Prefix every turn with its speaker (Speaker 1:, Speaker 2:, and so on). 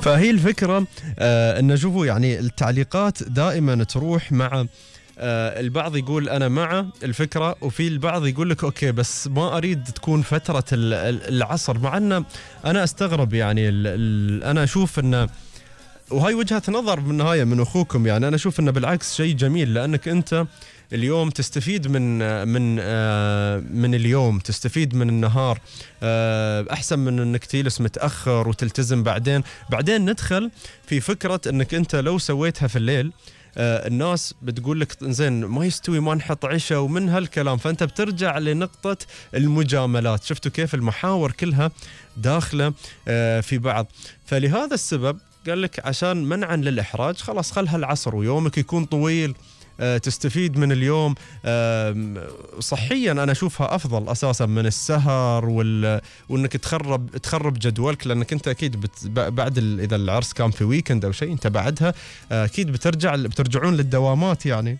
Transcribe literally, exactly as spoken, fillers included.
Speaker 1: فهي الفكرة آه أن شوفوا يعني التعليقات دائما تروح مع آه البعض يقول أنا مع الفكرة، وفي البعض يقول لك أوكي بس ما أريد تكون فترة العصر. مع أن أنا أستغرب يعني ال ال أنا أشوف أن، وهاي وجهة نظر بالنهاية من أخوكم، يعني أنا أشوف أنه بالعكس شيء جميل، لأنك أنت اليوم تستفيد من من آه من اليوم، تستفيد من النهار، آه أحسن من أنك تجلس متأخر وتلتزم بعدين. بعدين ندخل في فكرة أنك أنت لو سويتها في الليل آه الناس بتقول لك زين ما يستوي ما نحط عشاء ومن هالكلام، فأنت بترجع لنقطة المجاملات. شفتوا كيف المحاور كلها داخلة آه في بعض. فلهذا السبب قال لك عشان منعا للإحراج خلاص خلها العصر ويومك يكون طويل، أه تستفيد من اليوم. أه صحيا أنا أشوفها أفضل أساسا من السهر وال... وأنك تخرب تخرب جدولك، لأنك أنت أكيد بت... بعد ال... إذا العرس كان في ويكند أو شيء أنت بعدها أكيد بترجع بترجعون للدوامات يعني.